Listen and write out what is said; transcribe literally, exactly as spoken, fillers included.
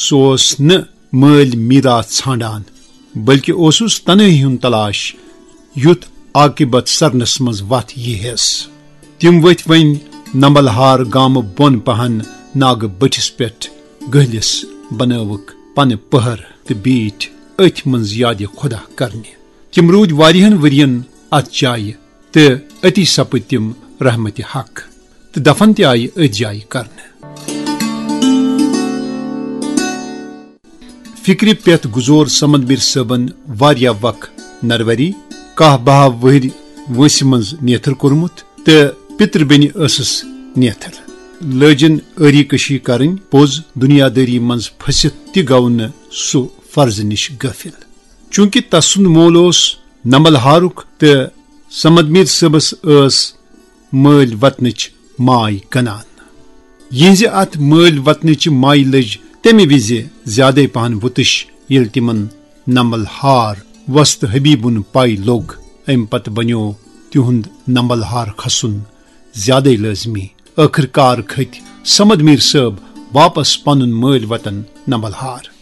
سُہ اوس نہٕ مٲلۍ میراث ژھانڈان، بلکہ اوسُس تنہٲئی ہُنٛد تلاش، یُتھ عاقبت سرنس منٛز وتھ ییہس۔ تِم ؤتھۍ وۄنۍ نمبلہار گامہٕ بۄن پہن ناگہٕ بٔٹھِس پٮ۪ٹھ گٔہلِس، بنٲوٕکھ پنہٕ پٔہر تہٕ بیٖٹھۍ أتھۍ منٛز یادِ خدا کرنہِ۔ تِم روٗدۍ واریاہن ؤرین اتھ جایہِ تہٕ أتی سپٕدۍ تِم رحمتِ حق تہٕ دفن تہِ آیہِ أتھۍ جایہِ کرنہٕ۔ فکرِ پٮ۪تھ گُزور صمد میر صٲبن واریاہ وق نروری، کاہ باہ وُہرۍ وٲنٛسہِ منٛز نیتھر کوٚرمُت تہٕ پِتر بیٚنہِ ٲسٕس نیتھر۔ لٲجِن ٲری کشی کرٕنۍ، پوٚز دُنیادٲری منٛز پھٔسِتھ تہِ گوٚو نہٕ سُہ فرضہٕ نِش غٲفِل۔ چونکہ تسُنٛد مول اوس نمبلہارُک تہٕ صمد میر صٲبس ٲس مٲلۍ وطنٕچ ماے کنان۔ یِہنٛزِ اتھ مٲلۍ وطنٕچہِ مایہِ لٔج تمہِ وِزِ زیادے پہن وُتٕش، ییٚلہِ تِمن نمبلہار وۄستہٕ حبیبُن پے لوٚگ۔ امہِ پتہٕ بنیوو تِہُنٛد نمبلہار کھسُن زیادے لٲزمی۔ ٲخٕر کار کھٔتۍ صمد میر صٲب واپس پنُن مٲلۍ وطن نمبلہار۔